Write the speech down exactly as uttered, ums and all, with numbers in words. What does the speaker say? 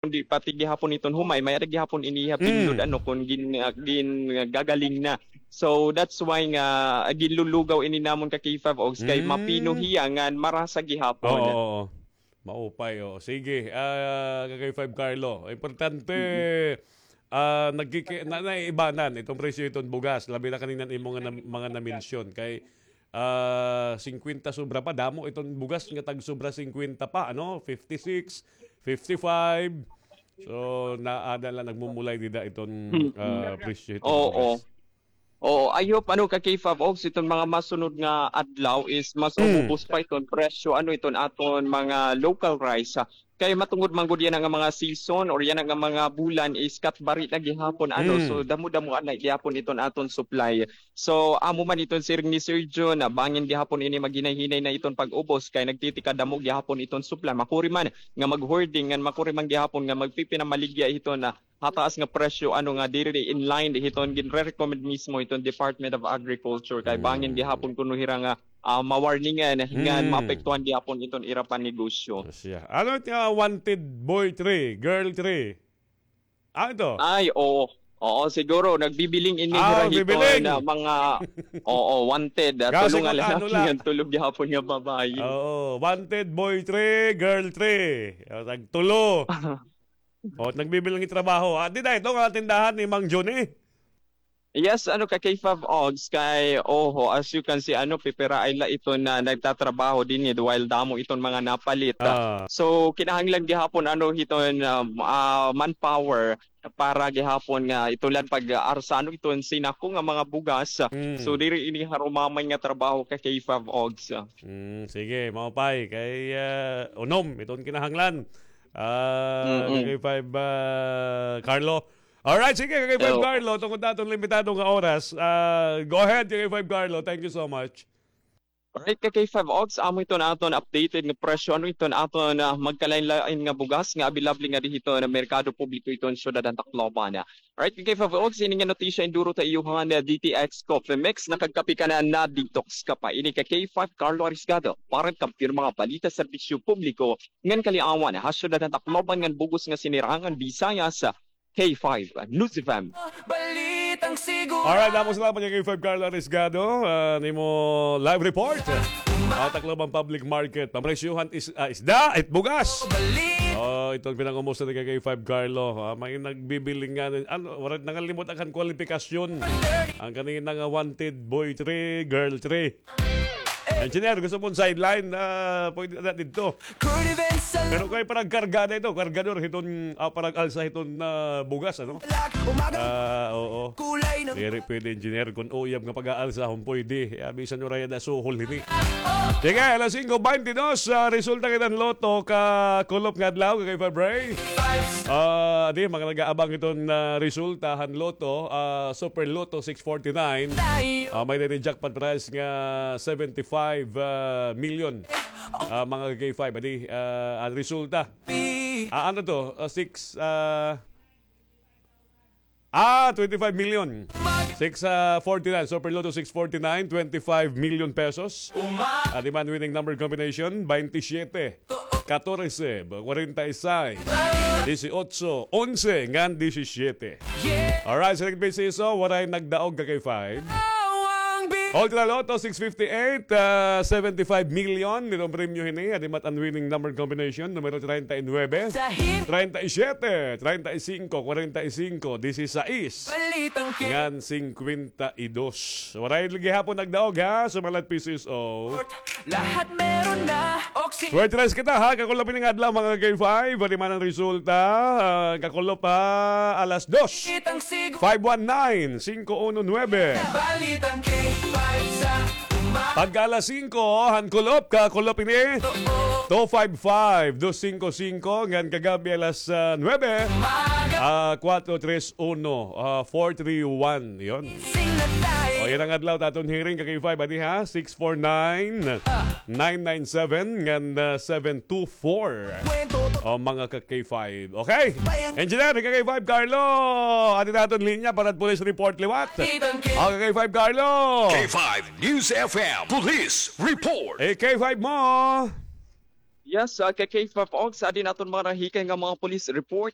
kundi pati gihapon iton humay, may-ada gihapon ini hiya pindot, ano, kon gin-, ah, gin-, ah, gagaling na. So, that's why nga, ah, ginlulugaw ini namon ka K five Ogs kay mapino hiya ngan marasa gihapon. Oo, oo. Maupay, oo. Sige, ah, ka K five Carlo. Importante, ah, nagkiki-, na, naiibanan iton presyo iton bugas. Labi na kanina imo nga na, mga na-mention. Kay, ah, singkwenta sobra pa. Damo iton bugas nga tag-sobra singkwenta pa, ano? Fifty-six, fifty-five. So, naada la, nagmumulay dida iton, ah, presyo iton bugas. Oo, I hope, ano, ka K five Ogs, iton mga masunod nga adlaw is mas umubos pa iton presyo, ano, iton aton mga local rice, ha. Kay matungod man gud yana nga mga season or yana nga mga bulan is katbari na gihapon, ano, so damo-damo na gihapon iton aton supply. So, amo man iton siring ni Sir Jun, na bangin gihapon ini maghinay-hinay na iton pag-ubos kay nagtitikadamo gihapon iton supply. Makuri man nga mag-hoarding ngan makuri man gihapon nga magpipinamaligya iton, ah, hataas nga presyo, ano, nga diri in line hiton ginre-recommend mismo hiton Department of Agriculture kay bangin gihapon kuno hira nga, ah, mawarningan ngan maapektuhan gihapon iton ira panegosyo. Siya. Ano it nga wanted boy three, girl three? Ah, ito. Ay, oo. Oo, siguro nagbibiling ini hira hiton na mga, oo, wanted, ah, tulo nga lalaki ngan tulo gihapon nga babayi. Oo, wanted boy three, girl three. O, tagtulo. O, nagbibilang trabaho. Ah, di dahil ito nga tindahan ni Mang Johnny. Yes, ano ka, K five Ogs, kay, oho, as you can see, ano, pipiraay la iton na nagtatrabaho dinhi, while damo iton mga napalit. Ah. So, kinahanglan gihapon, ano, hiton, um, ah, manpower para gihapon nga iton la pag-aarsa, ano, iton sinako nga mga bugas. So, diri ini harumamay nga trabaho ka, K five Ogs. Mm, sige, maupay. Kay, ah, unom, iton kinahanglan. Ah, K five, ah, Carlo. Alright, sige, ka K five Carlo, tungod aton limitado nga oras. Ah, go ahead, ka K five Carlo. Thank you so much. Alright, ka K five Ogs, amo iton aton updated nga presyo. Ano iton aton, ah, magkalain-lain nga bugas nga available nga dinhi hiton merkado publiko hiton syudad han Tacloban. Alright, ka K five Ogs, ini nga notisya induro ta iyo han, ah, D T X Coffee Mix. Nakagkape ka na, na-detox ka pa. Ini ka K five Carlo Arisgado para han kampiyon mga balita, serbisyo publiko ngan kaliawan ha syudad han Tacloban ngan bug-os nga sinirangan Visayas, K five News F M. Alright, damo salamat kay K five Carlo Arisgado, ah, nimo live report. Ah, Tacloban Public Market. Pamresyuhan is, ah, isda, it bugas. Oh, iton pinangumusta ni K five Carlo. Ah, may nagbibiling nga, ano, wala, nangalimot an kwalifikasyon. An kanina nga wanted boy three, girl three. Engineer, gusto mo sideline? Ah, pwede na dito. Pero kay panagkarga na ito, kargador hiton, ah, panag-alsa hiton, ah, bugas, ano? Ah, oo. Diri pwede, engineer, kun uyab nga pag-aalsa, hon pwede. Ah, bisan uraya na suhol hini. Sige, alas singko beintidos, ah, resulta kita han Lotto kakulop nga adlaw, kay February. Ah, di, mga nag-aabang iton, ah, resulta han Lotto, ah, Super Lotto six forty-nine. Ah, may diri jackpot prize nga seventy-five, ah, million. Ah, mga K five, adi, ah, an resulta. Ah, ano to? Ah, six, ah, ah, twenty-five million. Six, ah, forty-nine, Super Lotto six forty-nine, twenty-five million pesos. Adi man, winning number combination, twenty-seven. Katorse, kwarenta y seis, dieciocho, onse, ngan diyesisiyete. Alright, sa nagpisiso, waray nagdaog ka kay five. Ultra Lotto six fifty-eight, ah, seventy-five million, nitong premyo hini, adi man an winning number combination, numero treinta y nueve, treinta y siete, treinta y cinco, kwarenta y cinco, dieciséis, ngan cincuenta y dos. Waray lagi gihapon nagdaog, ha, sa mga P C S O. Lahat meron na, oxy. Swerte race kita, ha, kakulop ini nga adlaw, mga K five. Adi man an resulta, ah, kakulop, ha, alas dos. Five one nine, cinco uno nueve. Balitang K five sa umaga. Pagka alas singko, han kulop, kakulop ini. Two five five, dos singko singko, ngan kagab-i alas, ah, nuebe, ah, kuwatro tres uno, ah, four three one, yon. O, yana nga adlaw, it aton hearing, ka K five, adi ha, six four nine, nine nine seven, ngan, ah, seven two four. O, mga ka K five. Okay? Engineer, ka K five, Carlo, adi it aton linya para police report liwat. O, ka K five, Carlo. K five News F M, police report. Eh, K five mo. Yes, ah, ka K five Ogs, adi na aton mga nahikay nga mga police report.